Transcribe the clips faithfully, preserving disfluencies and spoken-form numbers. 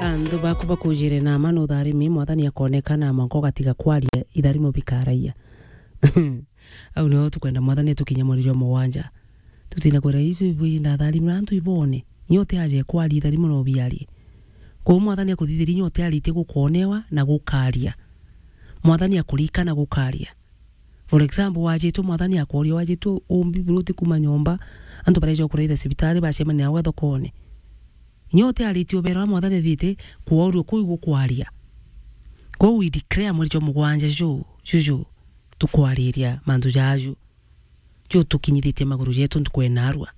Anthu baku bakujire na ma nutharimi, Mwathani akoneka na mwanka ugatiga kwaria, itharimo bikaraia. Au nio tukwenda Mwathani atukinye mweri jwa mugwanja. Tutina kwira icio ibwi ndatharimira antu ibone. Nyote aje kwaria itharimo no biarie. Kwou Mwathani akuthithiria nyote aritie gukonewa na gukaria. Mwathani akurikana gukaria. For example, wajitwe Mwathani akworia, wajitwe umbi buruti kuma nyomba, antu bareja kuraitha cibitari, bacemania nawe thokone. Nyote aritie ubera wa Mwathani athite kworua kuu gukwaria. Kwou we declare mweri jwa mugwanja ju, juju, tukwariria mantu jaju. Ju tukinyithitie maguru jetu ntuku ena arua.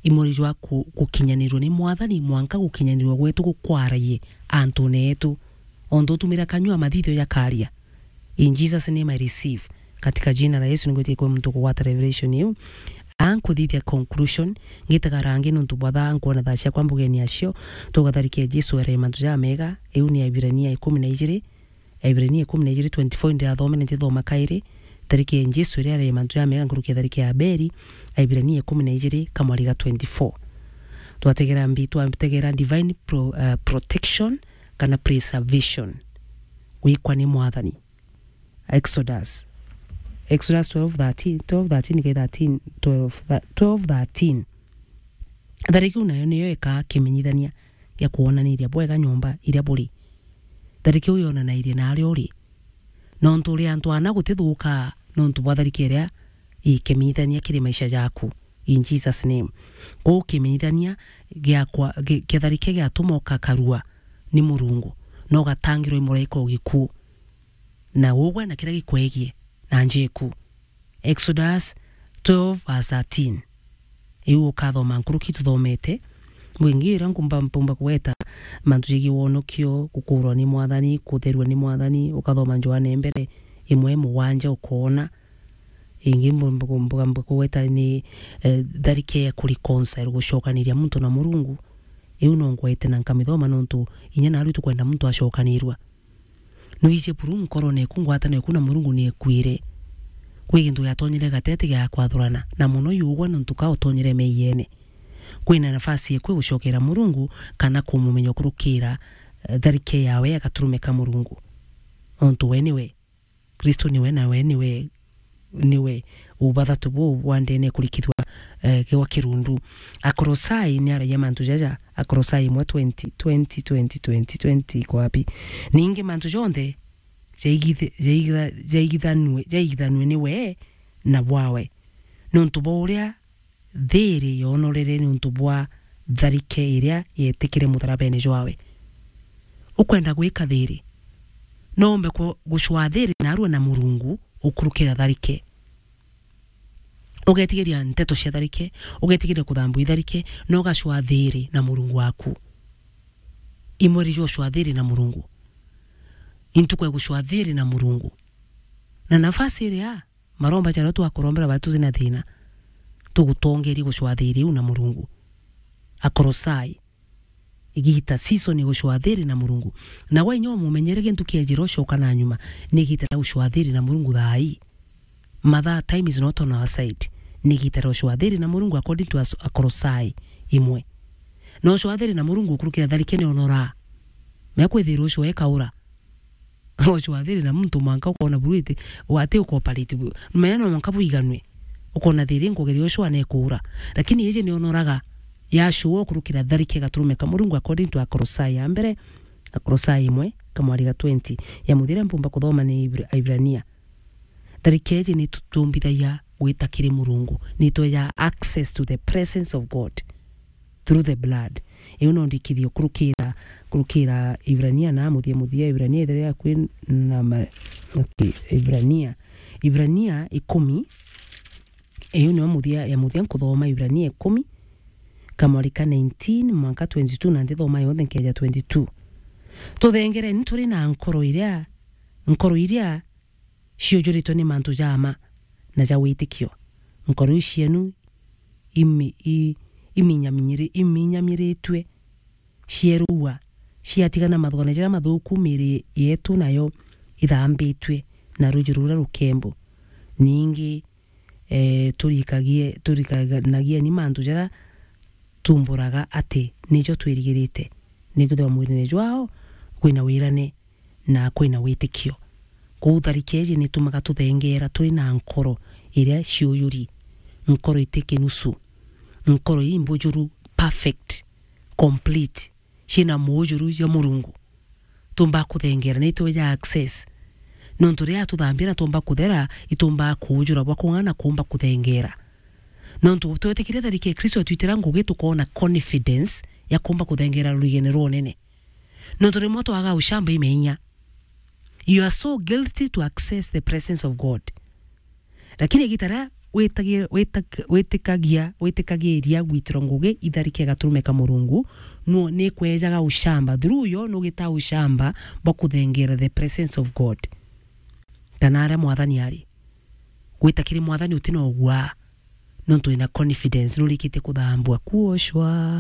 I mweri jwa ku-, gukinyanirua ni Mwathani, mwanka gukinyanirua gwetu gukwaraie antune etu. Ontu utumira kanyua mathithio jakaria. In Jesus' name I receive. Katika jina la Yesu ningwitie kwi muntu kugwata revelation iu. Ankuthithia conclusion, ngitaga rangi nuntu bwa thaa nkwona thaa ciakwa mbugeni acio, tugatharikia Jesu ere mantu jamega, iu ni Aibirania ikumi na ijiri, Aibirania ikumi na ijiri twenty-four ndirathomere, ntithoma kairi. Tharike ya Jesu iria ari mantu jamega nkuruki ya tharike ya Abeli, Aibirania ikumi na ijiri kamwari ga twenty-four. Twategera mbi, twategera divine pro-, uh, protection kana preservation. Gwikwa ni Mwathani. Exodus. Exodus twelve thirteen, twelve thirteen kai thirteen, twelve, tha-, twelve thirteen. Tharike iu nayo niyo ikaa kimenyithania gia kwonaniria bwega nyomba iria buri. Tharike iu yonanairie na aria uri. Nontu uri antu ana gutithukaa nontu bwa tharike iria ikimenyithania kiri maisha jaku. In Jesus' name. Kwou kimenyithania giakwa, gi-, kia tharike giatuma ukakarua ni Murungu, na ugatangirwa i muraika o gikuu. Na ugwe na kiria gikwegie na njiku. Exodus twelve verse thirteen. Iu ukathoma nkuruki tuthomete. Bwingi iria nkumba, mpumba kugweta mantu jegie wonokio, gukurwa ni Mwathani, kutherua ni Mwathani, ukathoma Johana mbere imwe mugwanja ukoona. Ingi mbu-, mbu-, mbu-, mbu-, kugweta ni, eh, tharike ya kureconcile, gucokaniria muntu na Murungu. Iu no ngwete na nkamithoma nontu inya naarua tukwenda muntu acokanirua. Nwiji buru nkorone eku, ngwataniro eku na Murungu ni ekuire. Kwi gintu giatonyire gatete gia kwathurana, na mono yugwa nontu ka utonyire meiyene. Kwina nafasi eku ya gucokera Murungu kana kumumenya ukurukira, eh, tharike yawe ya gaturume ka Murungu. Nontu we niwe. Kristo niwe, na we niwe, niwe ubathatu buu bwa ndene kurikithua, eh, gwa kirundu. Akolosai ni aragia mantu jaja, Akolosai imwe twenty, twenty, twenty, twenty, twenty iko wapi? Ningi mantu jonthe jaigithe-, jaigitha-, jaigithanue, jaigithanue ni we na bwawe. Nontu bwa uria thiiri yoonorere niuntu bwa tharike iria yeetikire mutharabene jwawe. Ukwenda gwika thiiri? No umbe ku-, gucwaa thiiri naarua na Murungu ukurukira tharike. Ugetigiria nteto cia tharike, ugetigiria kuthambua itharike, na ugacwaa thiiri na Murungu waku. Imweri jwa ucwaa thiiri na Murungu. Intuku ya gucwaa thiiri na Murungu. Na nafasi iria maromba jaria twakurombera baria tuti na thina, tugutongerie gucwaa thiiri iu na Murungu. Akolosai. Igita, season ya gucwaa thiiri na Murungu. Na we inya umumenyere gintu kiejira ucoka na nyuma, ni igita ria gucwaa thiiri na Murungu thaa ii. Mathaa, time is not on our side. Ni igita ria gucwaa thiiri na Murungu according to As-, Akolosai imwe. Na ucwaa thiiri na Murungu ukurukira tharike ni onoraa. Mea kwithirwa ucio ekaura. Ucwaa thiiri na muntu mwanka ukona buru iti, wati ukoperate bu-, mea no mwanka buiganwe. Ukona thiiri nkugeria ucwaa na ikuura. Lakini iji ni onoraga yacwaa ukurukira tharike gaturume ka Murungu according to Akolosai ya mbere, Akolosai imwe, kamwari ga twenty. Ya muthira mpumba kuthoma ni Ibra-, Aibrania. Tharike iji ni tutumbithagia gwita kiri Murungu. Ni tweja access to the presence of God through the blood. Iu no ndikithie kurukira, kurukira Ibrania na muthia muthia, Ibrania ithire akwi na ma-, okay, Ibrania. Ibrania ikumi, iu niyo muthia, ya muthia nkuthoma Ibrania ikumi, kamwari ka nineteen mwanka twenty-two, na ndithoma yonthe nkeja twenty-two. Tuthengereni turi na nkoro iria, nkoro iria ciujuritwe ni mantu ja mma na ja witikio. Nkoro iu cienu imi-, i-, iminyaminyiri-, iminyamiritue, cierua, ciatigana mathugane jaria mathuku, miiri yetu nayo ithambitue na ruuji ruria rukembu. Ningi, eh, turikagie-, turikanagieni mantu jaria tumburaga ati nijo twirigirite. Nikwithirwa mwirine jwao kwina wirane na kwina witikio. Kwou tharike iji nitumaga tuthengeera turi na nkoro iria ciujuri, nkoro iti kinusu, nkoro imbujuru, perfect, complete, ciina muujuru jwa Murungu. Tuumba kuthengeera, ni itweja access. Nontu riria atuthambia na tuumba kuthera, ituumba kuujura bwa kung'ana na kuumba kuthengeera. Nontu twetikire tharike ya Kristo atwitira ngugi, tukoona confidence ya kuumba kuthengeera rurigene rwa unene. Nontu rimwe twaga ushamba imenya. You are so guilty to access the presence of God. Lakini igita riria witagi-, witak-, witikagia, witikagiria gwitirwa ngugi itharike gaturume ka Murungu, nu-, nikwejaga ushamba. Through yo nugitaa ushamba bwa kuthengeera the presence of God. Kana aria Mwathani ari. Gwita kiri Mwathani utina ugua. Nontu wina confidence nurikitie kuthambua, kuoshwa.